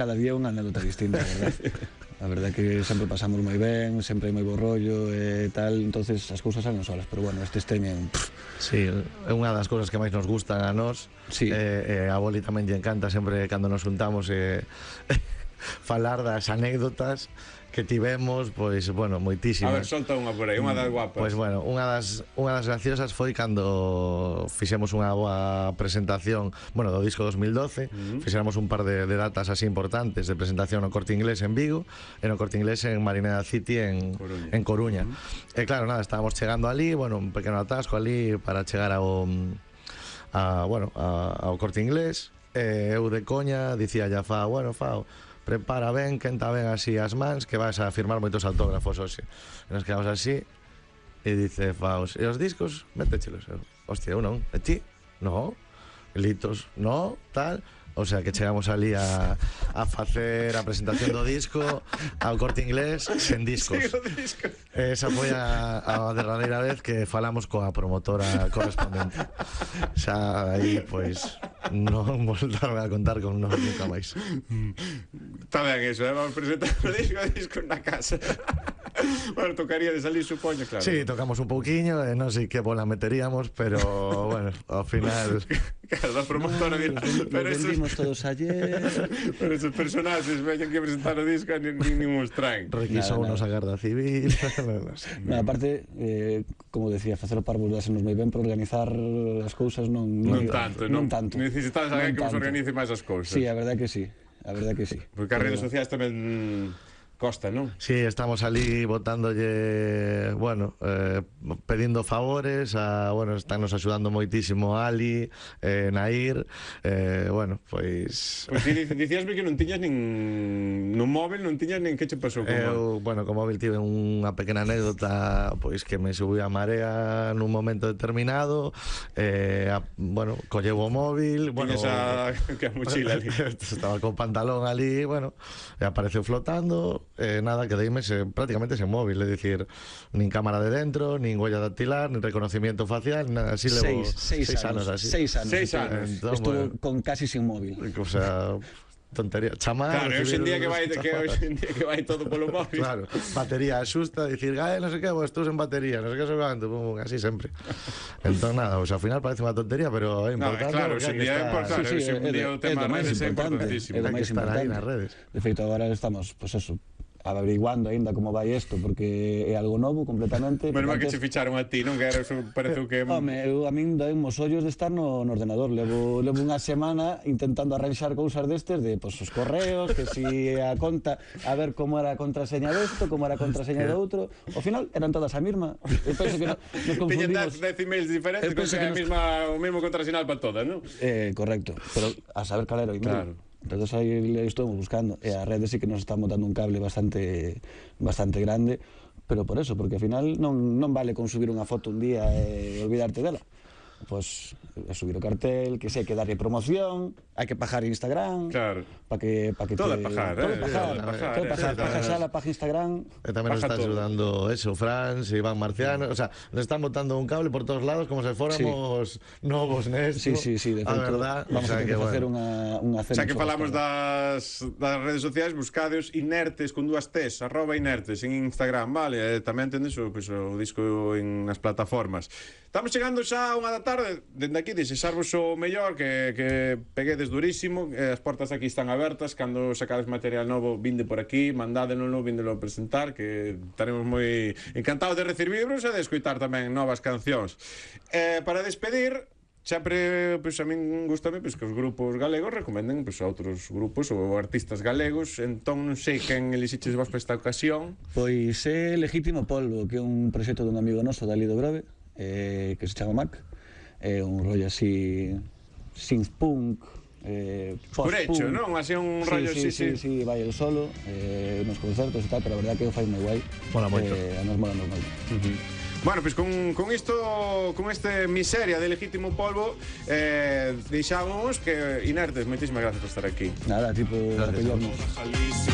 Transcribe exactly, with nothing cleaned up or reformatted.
Cada día unha anécdota distinta, a verdad. A verdade é que sempre pasamos moi ben, sempre hai moi bo rollo e tal, entonces as cousas salen solas, pero bueno, estes teñen... Sí, é unha das cousas que máis nos gustan a nós. Sí. E, e a Boli tamén lle encanta sempre cando nos juntamos e falar das anécdotas que tivemos, pois, bueno, moitísimas. A ver, solta unha por aí, unha das guapas. Pois, bueno, unha das, unha das graciosas foi cando fixemos unha boa presentación, bueno, do disco dos mil doce, uh-huh. Fixéramos un par de, de datas así importantes de presentación no Corte Inglés en Vigo e no Corte Inglés en Marineda City en Coruña. En Coruña. Uh-huh. E claro, nada, estábamos chegando ali, bueno, un pequeno atasco ali para chegar ao, a, bueno, a, ao Corte Inglés, e eu de coña dicía ya Fao, bueno, Fao, prepara ben, quenta ben así as mans, que vas a firmar moitos autógrafos hoxe. E nos quedamos así e dice Faus, e os discos, métechelos. Hostia, eu non, e ti? No, litos, no, tal. O sea, que chegamos ali a, a facer a presentación do disco ao Corte Inglés sen discos. Sí, o disco. Esa foi a, a derradeira vez que falamos coa promotora correspondente. Xa aí, pois, non voltaron a contar con nós nunca máis. Está ben eso, eh? Vamos presentar o disco, o disco na casa. Bueno, tocaría de salir, supoño, claro. Sí, tocamos un pouquiño, e non sei que bola meteríamos, pero, bueno, ao final... Claro, da promotora, no, mira, los, pero los esos... vendimos todos ayer. Pero esos personaxes veñan que presentar o disco ni, ni, ni os traen. Requisou nos a Garda Civil. No, sé, no, aparte, eh, como decía, facer o parvo dásenos moi ben, pero organizar as cousas non... Non, non tanto, non, non tanto. Necesitas alguén que vos organice máis as cousas. Sí, a verdade que sí, a verdade que sí. Porque as redes sociais tamén... Costa, non? Sí, estamos ali botándolle, bueno, eh, pedindo favores, a, bueno, están nos axudando moitísimo Ali, eh, Nair, eh, bueno, pois... Pois ti dicíasme que non tiñas nin... no móvil non tiñas nin que che pasou con Eu, bueno, co móvil tive unha pequena anécdota, pois que me subiu a marea nun momento determinado, eh, a, bueno, colleu o móvil, bueno... Tiñas a... que a mochila ali. Estaba co pantalón ali, bueno, e apareceu flotando... Eh, nada, quedeime se, prácticamente sen móvil, é dicir, nin cámara de dentro, nin huella dactilar, nin reconocimiento facial, nada, así levo seis, seis, seis anos, anos así. Seis anos. Seis anos. Entón, estuvo bueno, con casi sin móvil. O sea, tontería, chamar. Claro, hoxe en día que vai que hoxe en día que vai todo polo móvil. Claro, batería asusta, dicir, "Gae, non sei que, vos estou en batería, non sei que so canto", pum, así sempre. Entón nada, o sea, ao final parece unha tontería, pero é importante. No, claro, hoxe en día é importante, Sí, sí, hoxe en día o tema das redes é importantísimo. É o Hai que máis estar aí importante. nas redes. De feito, agora estamos, pois pues eso, averiguando aínda como vai isto, porque é algo novo completamente. Menos mal que antes... che ficharon a ti, non? Que era, pareceu que... Home, eu, a min doen os ollos de estar no, no ordenador. Levo, levo unha semana intentando arranxar cousas destes, de pues, os correos, que si a conta, a ver como era a contraseña desto, como era a contraseña do outro. Ao final eran todas a mesma. Eu penso que no, nos confundimos. Tiñen dez emails diferentes, con que, que a mesma, o mesmo contrasinal para todas, non? Eh, correcto, pero a saber cal era o email. Claro. Entonces aí estamos buscando, e a rede sí que nos está botando un cable bastante bastante grande, pero por eso, porque ao final non, non vale con subir unha foto un día e olvidarte dela. Pois pues, subir o cartel, que sei que darlle promoción, hai que pagar Instagram. Claro. Para que para que todo te é pagar, todo eh. é pagar, Todo é pagar, todo é pagar, eh. pagar xa la página Instagram. E tamén nos está ayudando eso, Franz, Iván Marciano, o sea, nos están botando un cable por todos lados como se fóramos sí. novos nesto. Sí, sí, sí, de feito, a verdad, vamos o sea, a ter que facer bueno. unha unha cena. Xa que falamos das das redes sociais, buscadeos inertes con dúas T's, arroba inertes en Instagram, vale? E tamén tendes o, pues, o disco en nas plataformas. Estamos chegando xa a unha da tarde, dende aquí desexarvos o mellor, que, que peguedes durísimo, eh, as portas aquí están abertas, cando sacades material novo, vinde por aquí, mandádenlo, vindelo a presentar, que estaremos moi encantados de recibirvos e de escoitar tamén novas cancións. Eh, para despedir, sempre, pues, a min gustame pues, que os grupos galegos recomenden pues, a outros grupos ou artistas galegos, entón non sei quen elixiches vos para esta ocasión. Pois é Legítimo Polvo, que é un proxecto dun amigo noso, Dali do Grove, eh, que se chama Mac. É un rollo así synth-punk, eh, post-punk. Escurecho, non? Así un sí, rollo sí, así, sí, sí, sí, vai el solo, eh, nos concertos e tal, pero a verdade que o fai moi guai. Mola moito. Eh, a nos mola moito. Uh-huh. Bueno, pois pues con, con isto, con este miseria de Legítimo Polvo, eh, deixamos que inertes, moitísimas gracias por estar aquí. Nada, tipo, apoyarnos.